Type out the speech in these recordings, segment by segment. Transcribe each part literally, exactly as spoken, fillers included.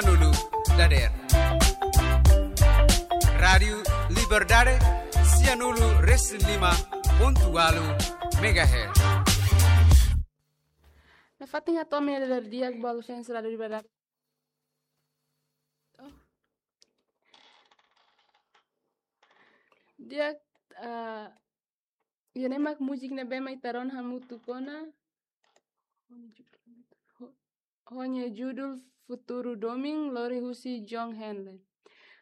Nulu dader. Rádiu Liberdade, sianulu resin lima pontu walu megahertz. Nafatin hato'o ami-nia dader di'ak ba fans Rádiu Liberdade. Oh. Di'ak, ah, ida-ne'e mak múzika ne'ebé mak ita rona hamutuk ona. Ho-, ho nia judul Futuru Domin, lori husi John Henley.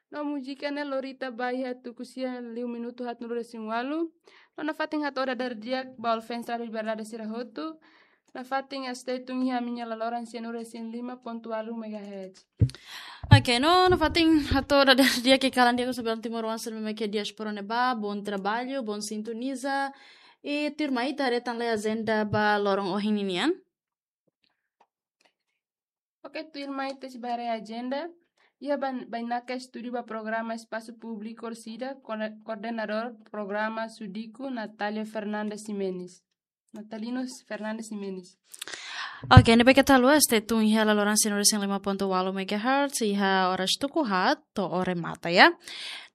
No múzika ne'e lori ita ba iha tuku sia liu minutu haatnulu resin walu. No nafatin hato'o dader di'ak ba fans Rádiu Liberdade sira hotu. Nafatin stay tune iha ami-nia laloran sianulu resin lima pontu walu megahertz. Oke, no nafatin hato'o dader di'ak ke kalan di'ak husi belun timoroan sira ne'ebé mak iha diáspora ne'ebá, bom trabalho, bom sintoniza. I tuirmai ita haree tan lai ajenda ba loron ohin ninian. Oke, tuirmai ita sei bá haree ajenda. Iha ban-, bainaka estúdiu ba programa Espasu Públiku orsida, koor-, koordenadór programa Sudiku, Natália Fernandes Ximenes. Natalino Fernandes Ximenes. Oke, ne'ebé keta haluha stay tune iha laloran sianulu resin lima pontu walu megahertz, iha oras tuku haat to'o remata, ya.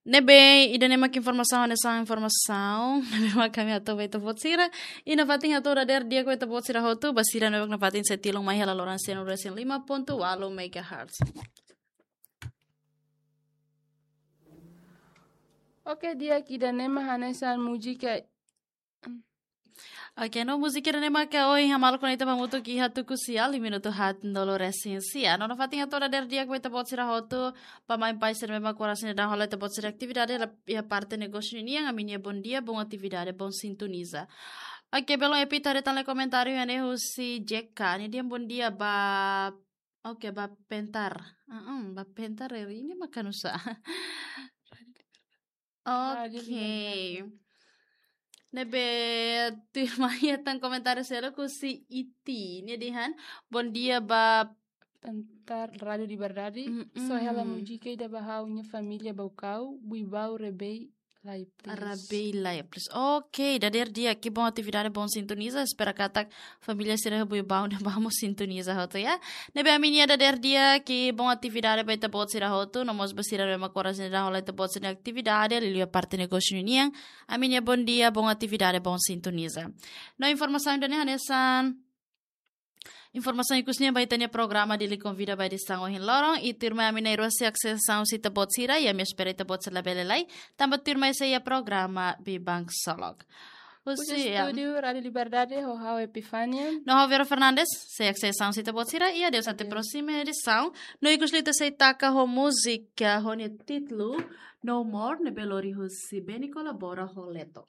Ne'ebé ida-ne'e mak informasaun, hanesan informasaun ne'ebé mak ami hato'o ba ita-boot sira. I nafatin hato'o dader di'ak ba ita-boot sira hotu, ba sira ne'ebé mak nafatin sei tilun mai iha laloran sianulu resin lima pontu walu megahertz. Oke, di'ak, ida-ne'e mak hanesan múzika. Oke, no múzika ida-ne'e mak ohin hamaluk ona ita ba hamutuk iha tuku sia liu minutu haatnulu resin sia. No nafatin hato'o dader di'ak ba ita-boot sira hotu, ba maun-alin sira ne'ebé mak oras ne'e daudaun hola ita-boot sira atividade iha parte negósiu ninian, ami-nia bom dia, bom atividade, bom sintoniza. Oke, belun Epi, ita haree tan lai komentáriu iha ne'e husi J K. Nia dehan bom dia ba, oke, ba Pentar. Heeh, ba Pentar, eh, ida-ne'e mak oinsá? Rádiu Oke. Liberdade. Ne'ebé tuirmai iha tan komentáriu seluk husi Iti. Nia dehan, bom dia ba Pentar Rádiu Liberdade. Mm-mm. Só hela múzika ida ba ha'u-nia família Baucau, Buibau Rebei Lai, please. Rebei Lai, please. Oke, dader di'ak, bom atividade, bom sintoniza. Espera katak família sira Buibau ne'ebá mós sintoniza hotu, ya. Ne'ebé ami-nia dader di'ak, bom atividade ba ita-boot sira hotu, no mós ba sira ne'ebé mak oras ne'e daudaun hola ita-boot sira-nia atividade, liuliu iha parte negósiu ninian. Ami-nia bom dia, bom atividade, bom sintoniza. No informasaun ida-ne'e hanesan informasaun ikus nian ba ita-nia programa Dili Konvida ba edisaun ohin loron, i tuirmai ami na'in-rua sei aksese saun husi ita-boot sira, i ami espera ita-boot sira labele lai, tanba tuirmai sei iha programa Biban Ksolok. Husi, husi, em, estúdiu Rádiu Liberdade, ho ha'u Epifania. No ha'u Vera Fernandes, sei aksese saun husi ita-boot sira, i adeus até, adeus, próxima edisaun. No ikus liu ita sei taka ho múzika, ho nia títulu No More, ne'ebé lori husi Benny Colabora ho Leto.